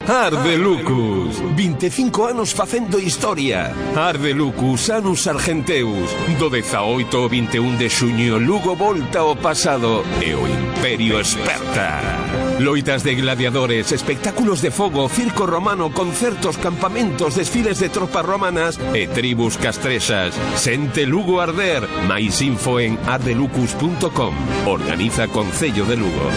Arde Lucus, 25 anos facendo historia. Arde Lucus, Anus Argenteus. Do 18 ao 21 de xuño, Lugo volta ao pasado e o Imperio esperta. Loitas de gladiadores, espectáculos de fogo, circo romano, concertos, campamentos, desfiles de tropas romanas e tribus castrexas. Sente Lugo arder. Mais info en ardelucus.com. Organiza Concello de Lugo.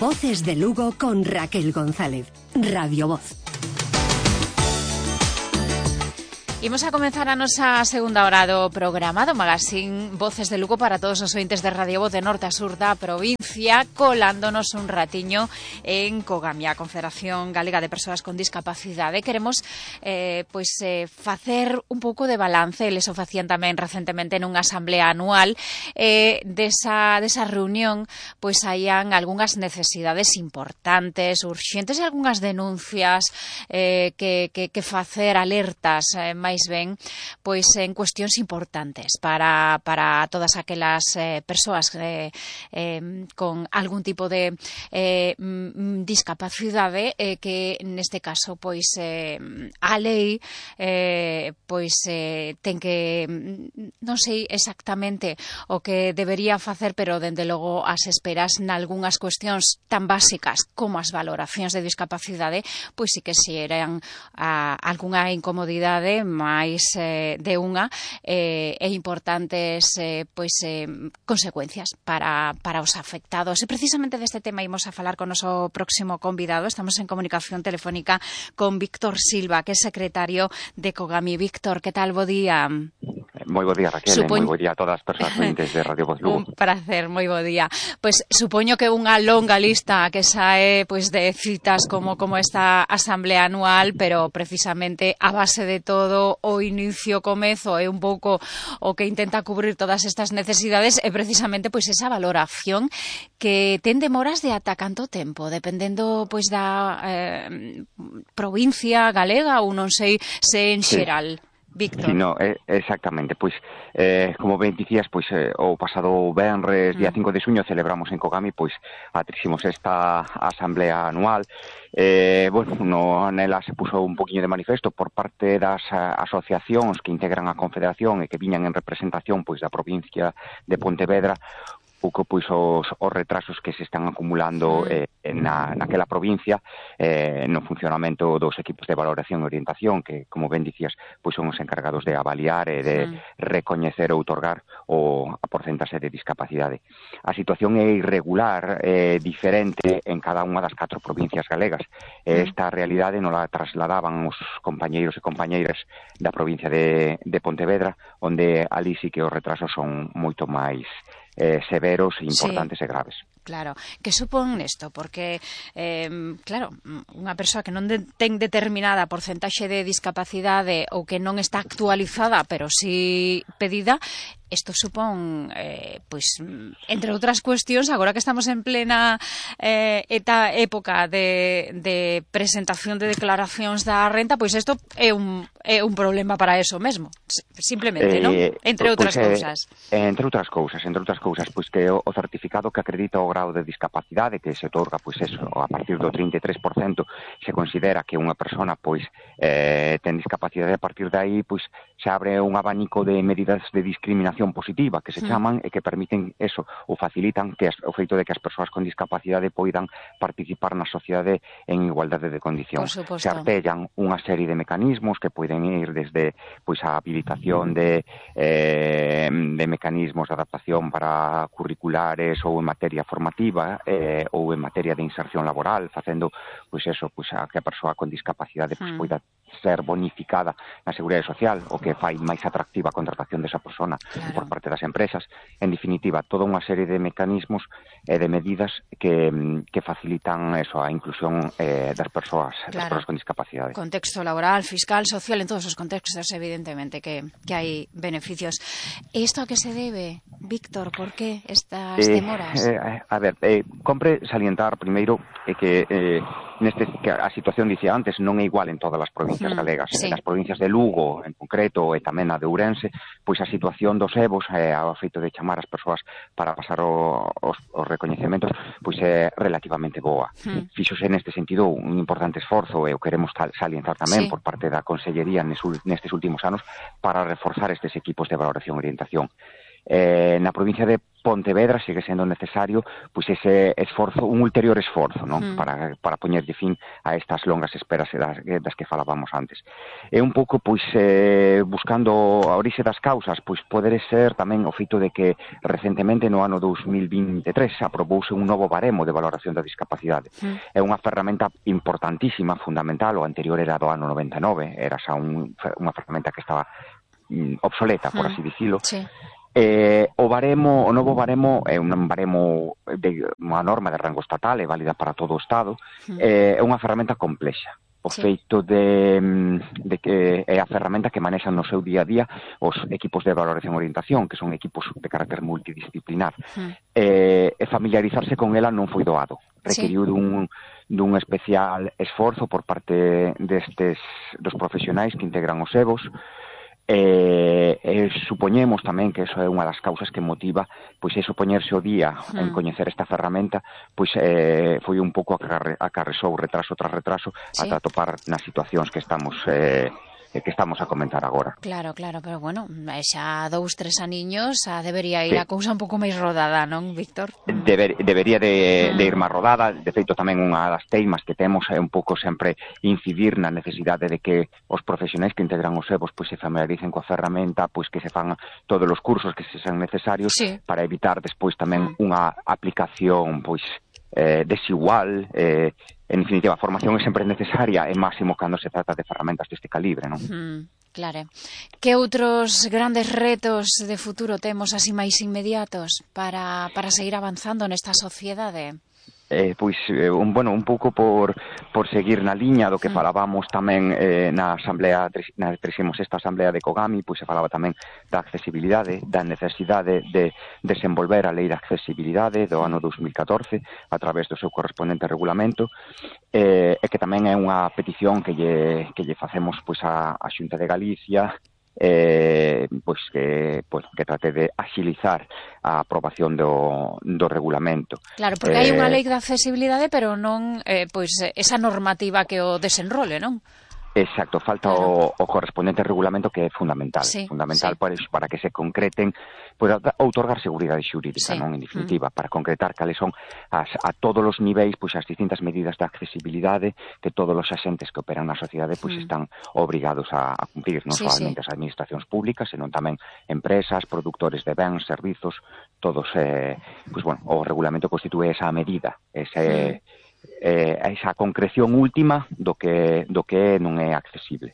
Voces de Lugo con Raquel González. Radio Voz. Imos a comenzar a nosa segunda hora do programa do Magazín Voces de Lugo para todos os ointes de Radio Voz de norte a sur da provincia, colándonos un ratiño en COGAMI, a Confederación Galega de Persoas con Discapacidade. Queremos facer un pouco de balance, eles o facían tamén recentemente nunha asamblea anual, desa reunión, pois haían algunhas necesidades importantes, urxentes, e algunhas denuncias que facer, alertas, máis ben, pois en cuestións importantes para todas aquelas persoas con algún tipo de discapacidade, que neste caso pois a lei ten que, non sei exactamente o que debería facer, pero dende logo as esperas nalgunhas cuestións tan básicas como as valoracións de discapacidade, pois sí que xeran algunha incomodidade máis de unha e importantes consecuencias para os afectados. E precisamente deste tema imos a falar con o noso próximo convidado. Estamos en comunicación telefónica con Víctor Silva, que é secretario de COGAMI. Víctor, que tal? Bo día. Moi bo día, Raquel, moi bo día a todas as persoas ointes de Radio Voz Lugo. Un prazer, moi bo día. Pois supoño que unha longa lista que sae de citas como esta asamblea anual, pero precisamente a base de todo o inicio, comezo é un pouco o que intenta cubrir todas estas necesidades, e precisamente esa valoración que ten demoras de ata canto tempo, dependendo da provincia galega, ou non sei se en xeral. Sí. Víctor. Sí, no, exactamente, como ben dicías, o pasado venres, día 5 de xuño, celebramos en COGAMI a 36ª asamblea anual. Nela se puso un poquinho de manifesto por parte das asociacións que integran a Confederación e que viñan en representación da provincia de Pontevedra, pouco os retrasos que se están acumulando naquela provincia no funcionamento dos equipos de valoración e orientación, que, como ben dicías, son os encargados de avaliar e de recoñecer ou outorgar a porcentaxe de discapacidade. A situación é irregular, diferente en cada unha das 4 provincias galegas. Esta realidade non la trasladaban os compañeiros e compañeiras da provincia de Pontevedra, onde ali sí que os retrasos son moito máis severos, importantes e graves. Claro, que supón isto? Porque, claro, unha persoa que non ten determinada porcentaxe de discapacidade ou que non está actualizada, pero sí pedida, isto supón, entre outras cuestións, agora que estamos en plena época de presentación de declaracións da renta, isto é un problema para eso mesmo, simplemente, non? Entre outras cousas. Entre outras cousas, que o certificado que acredita o grau de discapacidade que se otorga, a partir do 33%, se considera que unha persona ten discapacidade. A partir de aí se abre un abanico de medidas de discriminación positiva que se chaman e que permiten eso, ou facilitan o feito de que as persoas con discapacidade poidan participar na sociedade en igualdade de condicións. Se artellan unha serie de mecanismos que poden ir desde a habilitación de mecanismos de adaptación para curriculares ou en materia formativa ou en materia de inserción laboral, facendo a que a persoa con discapacidade poida ser bonificada na Seguridade Social, o que fai máis atractiva a contratación desa persona por parte das empresas. En definitiva, toda unha serie de mecanismos e de medidas que facilitan a inclusión das persoas con discapacidade. Contexto laboral, fiscal, social, en todos os contextos, evidentemente, que hai beneficios. E isto a que se debe, Víctor? Por que estas demoras? Compre salientar primeiro que que a situación, dicía antes, non é igual en todas as provincias galegas. Sí. Nas provincias de Lugo, en concreto, e tamén na de Ourense, pois a situación dos EVOs, ao feito de chamar as persoas para pasar os recoñecementos, pois é relativamente boa. Fíxose neste sentido un importante esforzo, e o queremos salientar tamén por parte da Consellería nestes últimos anos para reforzar estes equipos de valoración e orientación. Na provincia de Pontevedra sigue sendo necesario pois ese esforzo, un ulterior esforzo, non? Para poñerlle fin a estas longas esperas das que falábamos antes. É un pouco pois buscando a orixe das causas, pois poder ser tamén o feito de que recentemente no ano 2023 aprobouse un novo baremo de valoración da discapacidade. É unha ferramenta importantísima, fundamental, o anterior era do ano 99, era xa unha ferramenta que estaba obsoleta, por así dicilo. Sí. O novo baremo é un baremo de unha norma de rango estatal, é válida para todo o Estado, é unha ferramenta complexa. O feito de que é a ferramenta que manexan no seu día a día os equipos de valoración e orientación, que son equipos de carácter multidisciplinar. E familiarizarse con ela non foi doado. Requeriu dun especial esforzo por parte dos profesionais que integran os EVOs. Supoñemos tamén que eso é unha das causas que motiva pois eso, poñerse o día en coñecer esta ferramenta, pois foi un pouco acarresou retraso tras retraso ata atopar nas situacións que estamos a comentar agora. Claro, pero bueno, xa 2-3 aniños debería ir a cousa un pouco máis rodada, non, Víctor? Debería de ir máis rodada. De feito, tamén unha das teimas que temos é un pouco sempre incidir na necesidade de que os profesionais que integran os EVOs pois se familiaricen coa ferramenta, pois que se fan todos os cursos que se sean necesarios para evitar despois tamén unha aplicación pois desigual. En definitiva, a formación é sempre necesaria, e máximo cando se trata de ferramentas deste calibre, non? Claro. Que outros grandes retos de futuro temos así máis inmediatos para seguir avanzando nesta sociedade? Un pouco por seguir na liña do que falábamos tamén na 36ª Asamblea de Kogami, pois se falaba tamén da accesibilidade, da necesidade de desenvolver a Lei de Accesibilidade do ano 2014 a través do seu correspondente regulamento, e que tamén é unha petición que lle facemos pois a Xunta de Galicia, que trate de axilizar a aprobación do regulamento. Claro, porque hai unha lei de accesibilidade, pero non esa normativa que o desenrole, non? Exacto, falta o correspondente regulamento, que é fundamental, para que se concreten, para outorgar seguridade xurídica, non, en definitiva, para concretar cales son a todos os niveis pois as distintas medidas de accesibilidade que todos os axentes que operan na sociedade pois están obrigados a cumprir, non solamente as administracións públicas, senón tamén empresas, produtores de bens, servizos, todos, o regulamento constitúe esa medida, esa concreción última do que non é accesible.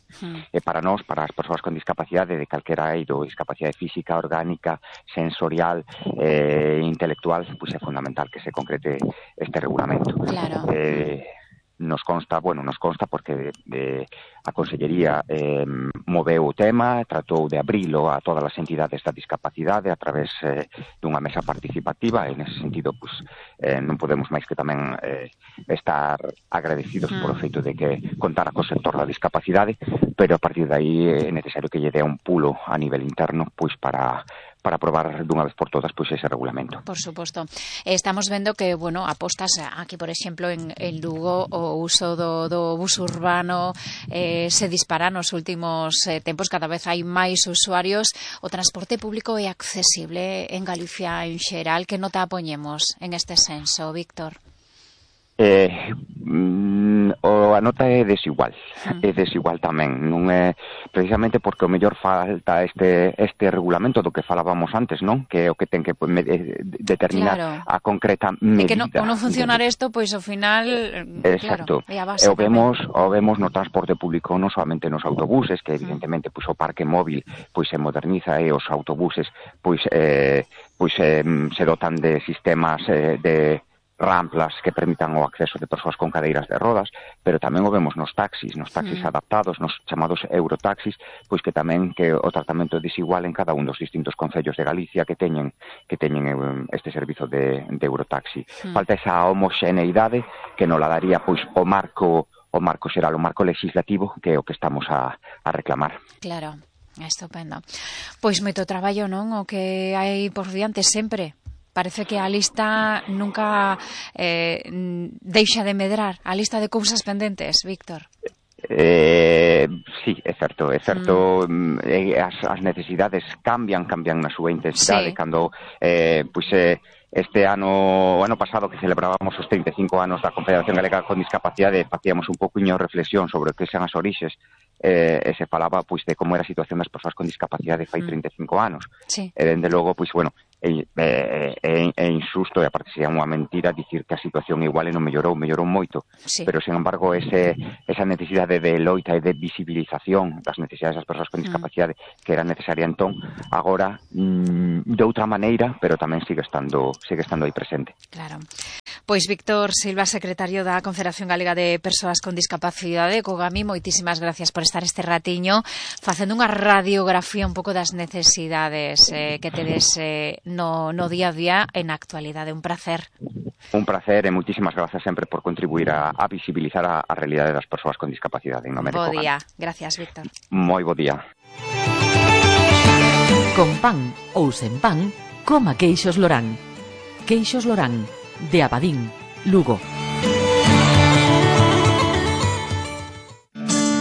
E para nós, para as persoas con discapacidade de calquera eido, discapacidade física, orgánica, sensorial, intelectual, pois é fundamental que se concrete este regulamento. Claro. Nos consta porque a Consellería moveu o tema, tratou de abrilo a todas as entidades da discapacidade a través dunha mesa participativa, e nese sentido non podemos máis que tamén estar agradecidos polo feito de que contara co sector da discapacidade, pero a partir de aí é necesario que lle dé un pulo a nivel interno pois para aprobar dunha vez por todas pois ese regulamento. Por suposto. Estamos vendo que, apostas aquí, por exemplo, en Lugo, o uso do bus urbano se dispara nos últimos tempos, cada vez hai máis usuarios. O transporte público é accesible en Galicia en xeral. Que nota poñemos en este senso, Víctor? A nota é desigual tamén, non é precisamente porque o mellor falta este regulamento do que falábamos antes, non? Que é o que ten que determinar a concreta medida. E que non funcionar isto, pois ao final, exacto. É a base. O vemos no transporte público, non solamente nos autobuses, que evidentemente pois o parque móvil pois se moderniza, e os autobuses pois se dotan de sistemas de ramplas que permitan o acceso de persoas con cadeiras de rodas, pero tamén o vemos nos taxis adaptados, nos chamados eurotaxis, pois que tamén que o tratamento é desigual en cada un dos distintos concellos de Galicia que teñen este servizo de eurotaxi. Falta esa homoxeneidade que nos la daría pois o marco xeral, o marco legislativo, que é o que estamos a reclamar. Claro, estupendo. Pois moito traballo, non? O que hai por diante sempre. Parece que a lista nunca deixa de medrar, a lista de cousas pendentes, Víctor. Sí, é certo. As necesidades cambian na súa intensidade. Cando este ano pasado que celebrábamos os 35 anos da Confederación Galega con Discapacidade, facíamos un pouquiño reflexión sobre o que son as orixes, e se falaba pois de como era a situación das persoas con discapacidade fai 35 anos. E dende logo, pois bueno, é injusto, e aparte sería unha mentira dicir que a situación igual non mellorou moito, pero sin embargo esa necesidade de loita e de visibilización das necesidades das persoas con discapacidade que era necesaria entón, agora de outra maneira, pero tamén sigue estando aí presente. Claro. Pois Víctor Silva, secretario da Confederación Galega de Persoas con Discapacidade, Cogami, moitísimas gracias por estar este ratiño facendo unha radiografía un pouco das necesidades que tedes no día a día en actualidade. Un placer. Un placer e moitísimas grazas sempre por contribuir a visibilizar a realidade das persoas con discapacidade. Bo día. Gracias, Víctor. Moi bo día. Con pan ou sen pan, coma queixos Lorán. Queixos Lorán, de Abadín, Lugo.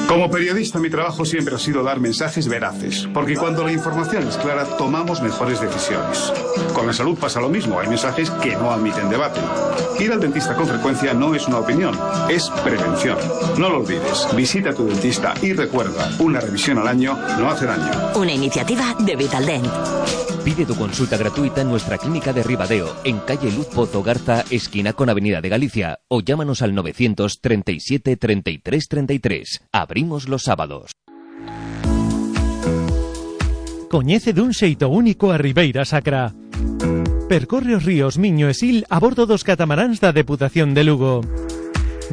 Como periodista, mi trabajo siempre ha sido dar mensajes veraces, porque cuando la información es clara, tomamos mejores decisiones. Con la salud pasa lo mismo, hay mensajes que no admiten debate. Ir al dentista con frecuencia no es una opinión, es prevención. No lo olvides, visita a tu dentista y recuerda, una revisión al año no hace daño. Una iniciativa de Vitaldent. Pide tu consulta gratuita en nuestra clínica de Ribadeo, en calle Luz Pozo Garza, esquina con Avenida de Galicia, o llámanos al 937 33 33. Abrimos los sábados. Coñece dun xeito único a Ribeira Sacra. Percorre os ríos Miño e Sil a bordo dos catamaráns da Deputación de Lugo.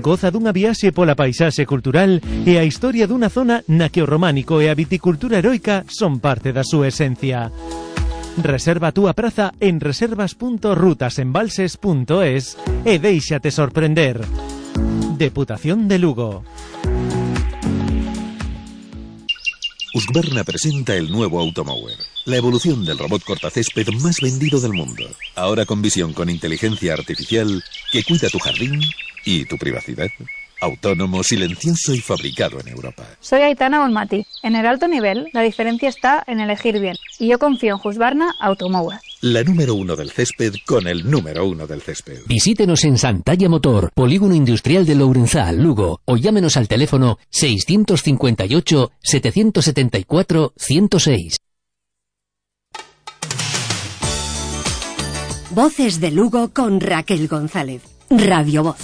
Goza dunha viaxe pola paisaxe cultural e a historia dunha zona na que o románico e a viticultura heroica son parte da súa esencia. Reserva a túa praza en reservas.rutasembalses.es e déixate sorprender. Deputación de Lugo. Husqvarna presenta el nuevo Automower, la evolución del robot cortacésped más vendido del mundo. Ahora con visión con inteligencia artificial que cuida tu jardín y tu privacidad. Autónomo, silencioso y fabricado en Europa. Soy Aitana Bonmati. En el alto nivel, la diferencia está en elegir bien. Y yo confío en Husqvarna Automower. La número 1 del césped con el número 1 del césped. Visítenos en Santalla Motor, Polígono Industrial de Lourenzal, Lugo, o llámenos al teléfono 658 774 106. Voces de Lugo con Raquel González. Radio Voz.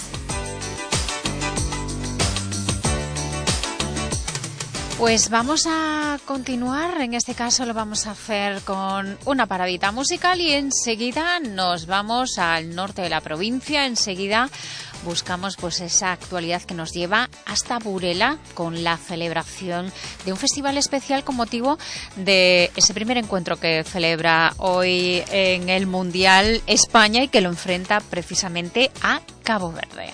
Pues vamos a continuar, en este caso lo vamos a hacer con una paradita musical y enseguida nos vamos al norte de la provincia, enseguida buscamos pues esa actualidad que nos lleva hasta Burela con la celebración de un festival especial con motivo de ese primer encuentro que celebra hoy en el Mundial España y que lo enfrenta precisamente a Cabo Verde.